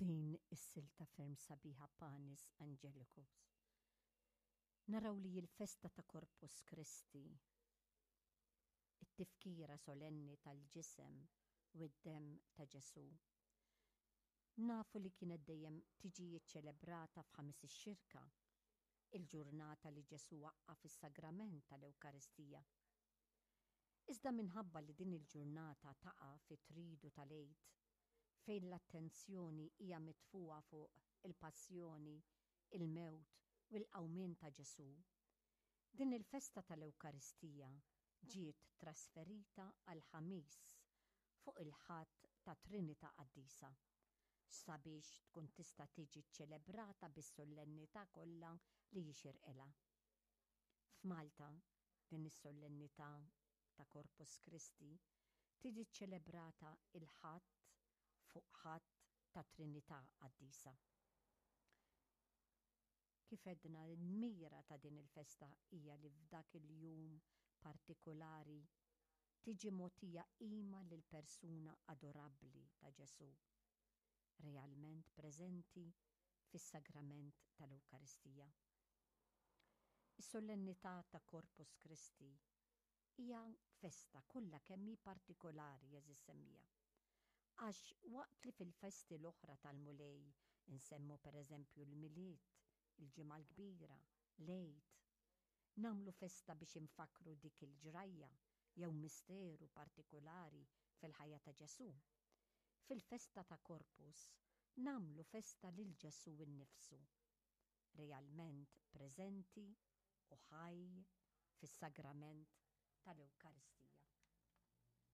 B'din is-silta ferm sabiħa Panis Angelicus, naraw li l-festa ta' Corpus Christi, it-tifkira solenni tal-ġisem u d-demm ta' Ġesù, nafu li kienet dejjem tiġi ċċelebrata f'Ħamis ix-Xirka, il-ġurnata li Ġesù waqqaf is-sagrament tal-Ewkaristija. Iżda minħabba li din il-ġurnata taqa' fit-Tridu tal-Għid, fejn l-attenzjoni hija mitfugħa fuq il-passjoni, il-mewt u l-qawmien ta' Ġesù, din il-festa tal-Ewkaristija ġiet trasferita għall-Ħamis fuq il-Ħadd tat-Trinità Qaddisa, sabiex tkun tista' tiġi ċċelebrata bis-sollennità kollha li jixirqilha. F'Malta, din is-sollennità ta' Corpus Christi tiġi ċċelebrata l-Ħadd fuq Ħadd tat-Trinità Qaddisa. Kif għedna, l-mira ta' din il-festa hija li f'dak il-jum partikulari tiġi mogħtija qima lill-persuna adorabbli ta' Ġesù, realment preżenti fis-sagrament tal-Ewkaristija. Is-Solennità ta' Corpus Christi hija festa kollha kemm hi partikolari għeżież semmiegħa. Għax waqt li fil-festi l-oħra tal-Mulej insemmu pereżempju l-Milied, il-Ġimgħa l-Kbira, l-Għid, nagħmlu festa biex infakkru dik il-ġrajja jew misteru partikolari fil-ħajja ta' Ġesù, fil-festa ta' Corpus nagħmlu festa lil Ġesù nnifsu realment preżenti u ħaj fis-sagrament tal-Ewkaristija.